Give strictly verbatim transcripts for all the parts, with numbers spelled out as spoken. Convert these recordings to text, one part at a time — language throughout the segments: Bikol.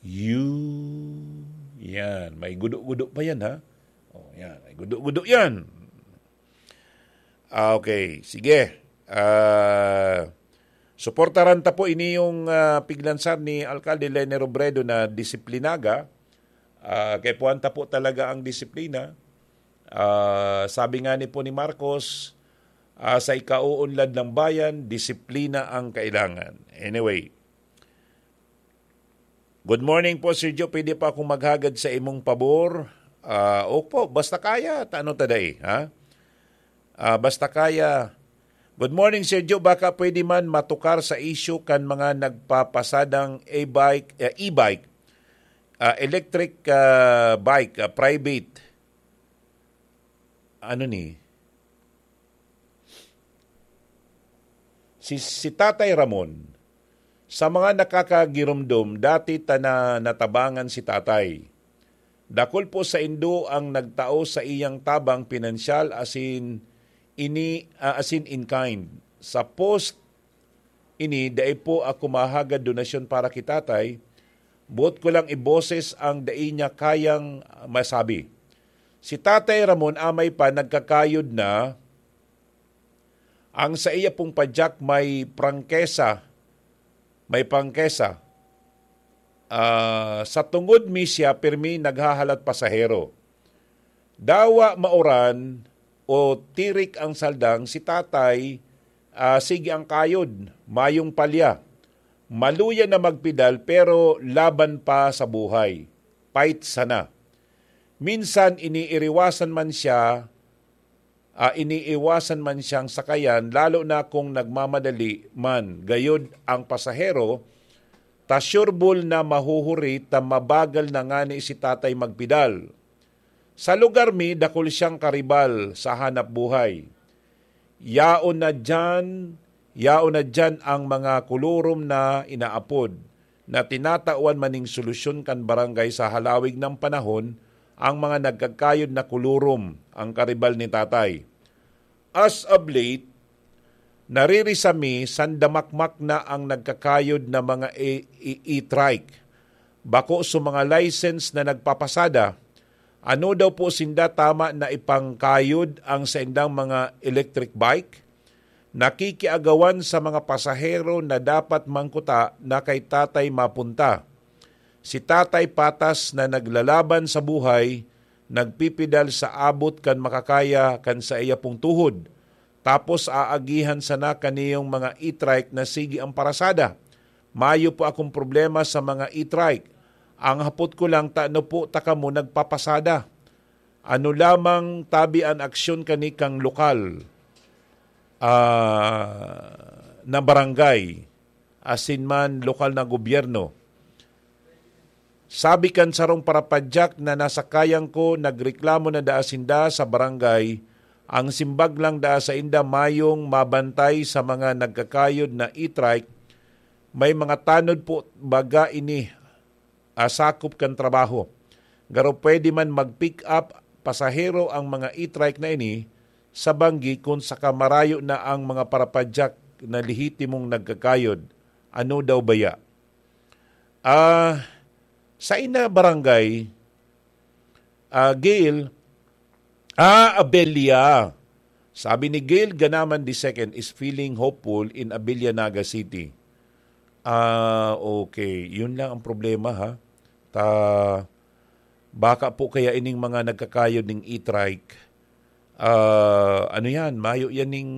You. Yan. May gudo-gudo pa yan, ha? Oh, yan. May gudo-gudo yan. Ah, okay. Sige. Ah, suportaran ta po ini yung, ah, piglansar ni Alkalde Leni Robredo na disiplinaga. Ah, kay puwan ta po talaga ang disiplina. Ah, sabi nga ni po ni Marcos, ah, sa ikauunlad ng bayan, disiplina ang kailangan. Anyway, good morning po, Sir Joe. Pwede pa akong maghagad sa imong pabor? Ah, opo, basta kaya, tano ta dai, ha? Ah, basta kaya. Good morning, Sir Joe. Baka pwede man matukar sa issue kan mga nagpapasadang e-bike, eh, e-bike, ah, electric, ah, bike, ah, private. Ano ni? Si, si Tatay Ramon, sa mga nakakagiromdom, dati ta na natabangan si Tatay. Dakul po saindo ang nagtao sa iyang tabang pinansyal asin ini, ah, asin in kind. Sa post ini, dai po ako mahagad donasyon para ki Tatay. Boot ko lang iboses ang dai niya kayang masabi. Si Tatay Ramon amay pa nagkakayod na, ang saiya pong padyak may prangkesa, may prangkesa. Ah, sa tungod mi siya pirmi naghahalat pasahero. Dawa mauran o tirik ang saldang, si Tatay, ah, sige ang kayod, mayong palya. Maluya na magpedal pero laban pa sa buhay. Fight sana. Minsan iniiriwasan man siya, ah, iniiwasan man siyang sakayan, lalo na kung nagmamadali man. Gayod ang pasahero, ta sure ball na mahuhuri ta mabagal na ngani si Tatay magpedal. Sa lugar mi, dakul siyang karibal sa hanap buhay. Yaon na diyan, yaon na diyan ang mga kulurom na inaapod, na tinatawan man ning solusyon kan barangay sa halawig ng panahon, ang mga nagkakayod na kulurom, ang karibal ni Tatay. As of late, naririsa mi, sandamakmak na ang nagkakayod na mga e-, e-, e-trike. Bako sa mga license na nagpapasada, ano daw po sinda tama na ipangkayod ang saindang mga electric bike? Nakikiagawan sa mga pasahero na dapat mangkuta na kay Tatay mapunta. Si Tatay patas na naglalaban sa buhay, nagpipedal sa abot kan makakaya kan saiya pong tuhod. Tapos aagihan sana kaniyong mga e-trike na sige ang parasada. Mayo po akong problema sa mga e-trike. Ang hapot ko lang, tano po ta kamo nagpapasada? Ano lamang tabi an aksyon kani kang lokal, ah, na barangay, asin man lokal na gobyerno? Sabi kan sarong parapadyak na nasakayan ko, nagreklamo na daa sinda sa barangay. Ang simbag lang daa sainda, mayong mabantay sa mga nagkakayod na e-trike. May mga tanod po baga ini, ah, sakop kan trabaho. Garo pwede man mag-pick up pasahero ang mga e-trike na ini sa banggi kun saka marayo na ang mga parapadyak na lehitimong nagkakayod. Ano daw baya? Ah, sa ina barangay, ah, Gail, ah, Abella. Sabi ni Gail Ganaman the second is feeling hopeful in Abella, Naga City. Ah, okay. Yun lang ang problema, ha. Ta, baka po kaya ining mga nagkakayod ning e-trike, ah, ano yan, mayo yan ning,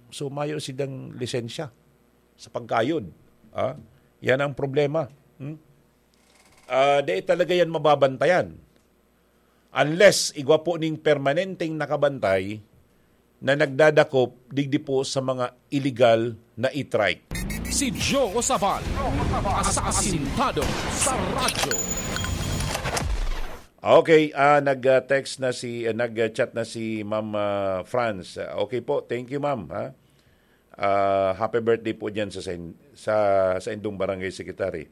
so mayo sidang lisensya sa pagkayod. Ah, yan ang problema. Hmm? Ah, dai talaga yan mababantayan. Unless igwa po ning permanenteng nakabantay na nagdadakop digdi po sa mga illegal na e-trike. Si Joe Sabal, asasintado sa radyo. Okay, ah, nag, ah, text na si, ah, nag, ah, chat na si Ma'am, ah, Franz. Ah, okay po, thank you, ma'am, ha. Ah, happy birthday po diyan sa sen-, sa, sa indong barangay secretary.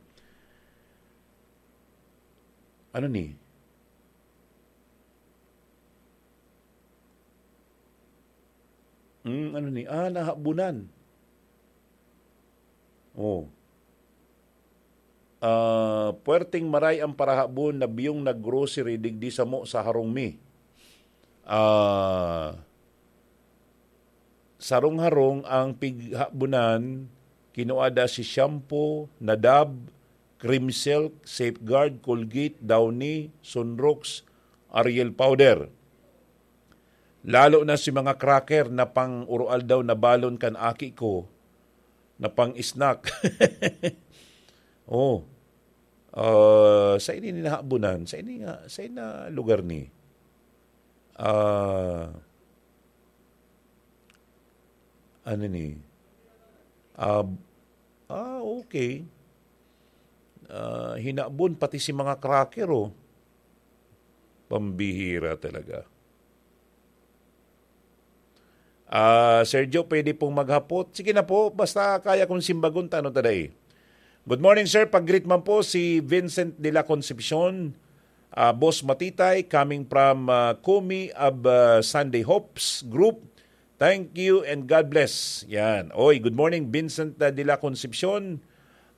Ano ni? Hmm, ano ni? Ah, nahabunan. Oh. Ah, puwerteng maray ang parahabon na biyong nag-grocery digdi samo sa harong mi. Ah, sarong-harong ang pighabonan, kinuha da si shampoo, Nadab, Cream Silk, Safeguard, Colgate, Downy, Sunrox, Ariel Powder. Lalo na si mga cracker na pang-uroaldaw na balon kan aki ko, na pang-snack. Oh. Ah, sa ini nahabonan, sa ini nga, sa ina lugar ni. Ah, ano ni? Ah, ah, okay. Ah, hinabon pati si mga cracker, oh. Pambihira talaga. Ah, Sergio, pwede pong maghapot? Sige na po, basta kaya kong simbagon, tano ta dai. Good morning, sir. Pag-greet man po si Vincent de la Concepcion, ah, Boss Matitay, coming from, ah, Kumi of, ah, Sunday Hopes Group. Thank you and God bless. Yan. Oy, good morning, Vincent, ah, de la Concepcion.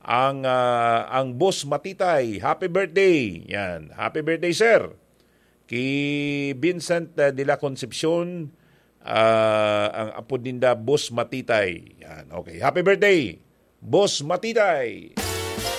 Ang, ah, ang Boss Matitay, happy birthday. Yan. Happy birthday, sir. Ki Vincent, ah, de la Concepcion, ah, ang apod ninda, Boss Matitay. Yan. Okay. Happy birthday, Boss Matitay.